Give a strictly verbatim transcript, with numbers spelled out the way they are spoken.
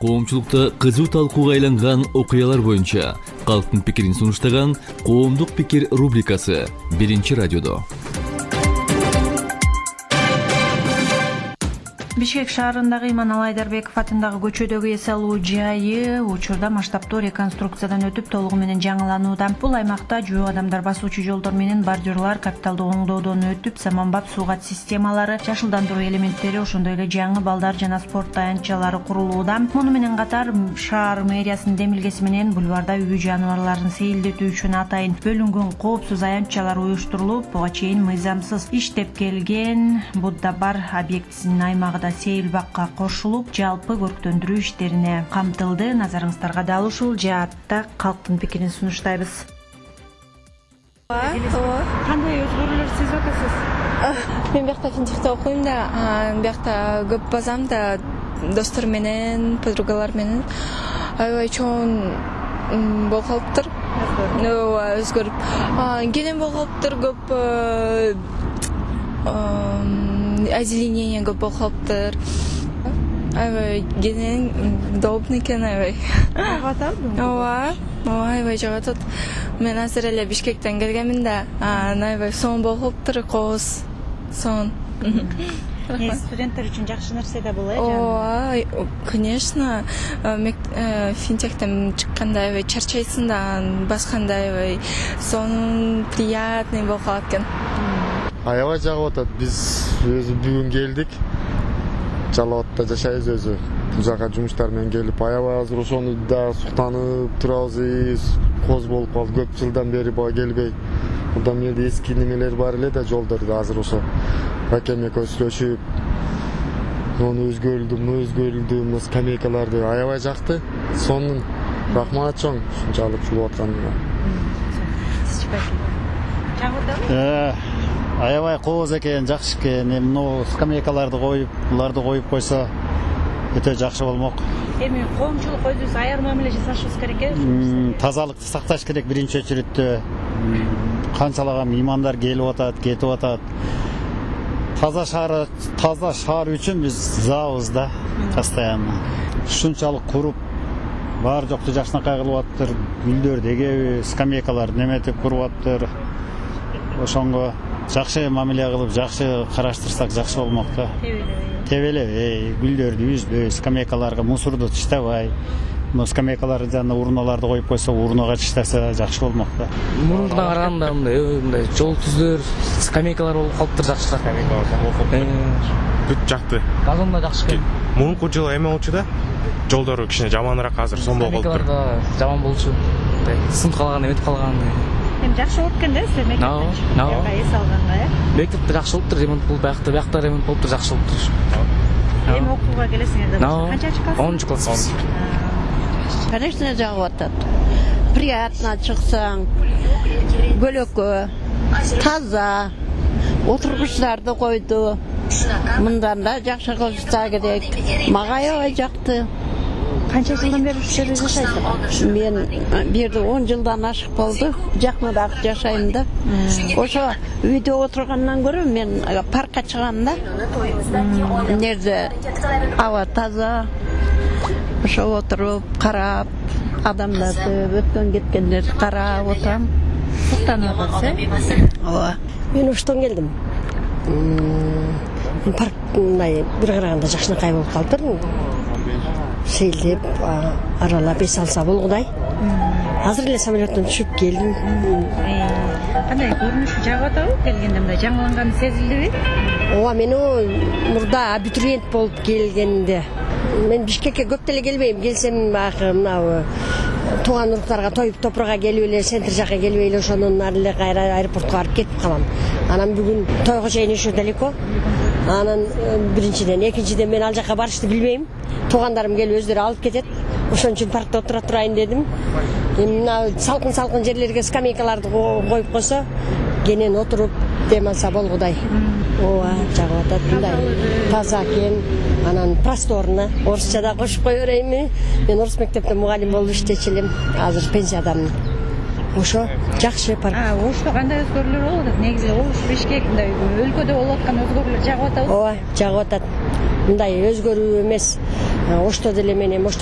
Коомчулукта кызуу талкууга айланган окуялар боюнча калктын пикирин сунуштаган Коомдук пикир рубрикасы биринчи радиодо. Бишкек шаарындагы Иманалы Айдарбеков атындагы көчөдөгү эс алуу жайы учурда масштабтуу реконструкциядан өтүп толугу менен жаңыланууда. Бул аймакта жөө адамдар басуучу жолдор менен бордюрлар капиталдуу оңдоодон өтүп, заманбап суугат системалары, жашылдандыруу элементтери, ошондой эле жаңы балдар жана спорт таяныччалары курулууда. Муну менен катар шаар мэриясынын демилгеси менен бульварда үй жаныбарларын сейилдетүү үчүн атайын бөлүнгөн коопсуз аянтчалар уюштурулуп, буга чейин мыйзамсыз иштеп келген Будда бар объектисинин аймагында сейил бакка кошулуп, жалпы көрктөндүрүү иштерине камтылды. Назарыңыздарга дал ушул жаатта калктын пикирин сунуштайбыз. Кандай өзгөрүүлөр сезип атасыз? Мен биякта финтехте окуйм да, биякта көп базам да, достор менен, подругалар менен. Аябай чоң болуп калыптыр. Ооба, өзгөрүп. Келем болуп калыптыр, көп озеленение көп болуп калыптыр. Аябай кенен удобный экен, аябай. Жагат атабы? Ооба, ооба, аябай жагат атат. Мен азыр эле Бишкектен келгенмин да, аябай сонун болуп калыптыр, кооз, сонун. Студенттер үчүн жакшы нерсе да бул, э? Ооба, конечно. Финтехтен чыкканда аябай чарчайсың да, басканда аябай сонун, приятный болуп калат экен. Аябай жагып атат. Биз өзү бүгүн келдик. Жалал абадта жашайбыз өзү. Бул жака жумуштар менен келип, аябай азыр ошону да суктанып турабыз. Коз болуп калды, көп жылдан бери бага келбей. Мындан эле эски немелер бар эле да жолдордо азыр ошо. Акем экөөбүз сүйлөшүп, муну өзгөрүлдү, муну өзгөрүлдү, мына скамейкаларды аябай жакты. Сонун. Рахмат чоң ушунчалык жулуп атканыңа. Э, аябай кооз экен, жакшы экен. Эми скамейкаларды коюп, буларды коюп койсо өтө жакшы болмок. Эми коомчулук өзүбүз аяр мамиле жасашыбыз керек э? Тазалыкты сакташ керек биринчи очередте. Канчалаган меймандар келип атат, кетип атат. Таза шаар, таза шаар үчүн биз забыз да, постоянно. Ушунчалык куруп, бар жокту жакшынакай кылып атыптыр. Гүлдөрдү эгеби, скамейкаларды неметип куруп атыптыр. Ошонго жакшы мамиле кылып, жакшы караштырсак жакшы болмок да. Тебелебей, гүлдөрдү үзбөй, скамейкаларга мусорду таштабай. Но скамейкаларды жана урналарды коюп койсо, урнага таштаса жакшы болмок да. Мурундан караганда мындай мындай жол түздөр, скамейкалар болуп калыптыр жакшыраак. Скамейкалар болуп калыптыр. Бүт жакты. Вагон да жакшы экен. Мурунку жылы эме болчу да. Жолдору кичине жаманыраак азыр, сонун болуп калыптыр. Скамейкалар да жаман болчу. Мындай сынып калган, эметип калган. Эми жакшы болуп экен да, силер мектепте эс алганга, э? Мектепте жакшы болуптур, ремонт болуп, биякта, биякта ремонт болуптур, жакшы болуптур. Эми окууга келесиңер да, канчанчы класс? онунчу класс. Конечно, жагып атат. Приятно чыксаң, көлөкө, таза, отургучтарды койду. Мындан да жакшы кылышса керек. Мага аябай жакты. Канча жылдан бери ушул жерде жашайсыз? Мен бир жерде он жылдан ашык болду. Жакыныраак жашайм да. Ошо үйдө отургандан көрө мен паркка чыгам да. Нерде аба таза. Ошо отуруп, карап, адамдарды, өткөн кеткендерди карап отурам. Суктанып атасыз, э? Ооба. Мен Оштон келдим. Парк мындай бир караганда жакшынакай болуп калыптыр. Сейилдеп, аралап эс алса болгудай. Азыр эле самолеттон түшүп келдим. Кандай көрүнүшү жагып атабы? Келгенде мындай жаңыланганы сезилдиби? Ооба, мен мурда абитуриент болуп келгенде мен Бишкекке көп деле келбейм. Келсем баягы мына тууган уруктарга тоюп топурга келип эле, центр жака келип эле ошонун ары эле кайра аэропортко барып кетип калам. Анан бүгүн тойго чейин еще далеко. Анан биринчиден, экинчиден мен ал жака барышты билбейм. Туугандарым келип өздөрү алып кетет. Ошон үчүн паркта отура турайын дедим. Эми мына салкын-салкын жерлерге скамейкаларды коюп койсо, кенен отуруп дем алса болгудай. Ооба, жагып атат мындай. Таза экен. Анан просторно. Орусча да кошуп кое берейинби? Мен орус мектепте мугалим болуп иштечү элем. Азыр пенсиядамын. Ошо жакшы парк. А, ошто кандай өзгөрүүлөр болуп атат? Негизи Ош, Бишкек мындай өлкөдө болуп аткан өзгөрүүлөр жагып атабы? Ооба, жагып атат. Мындай өзгөрүү эмес. Ошто деле мен эми ошто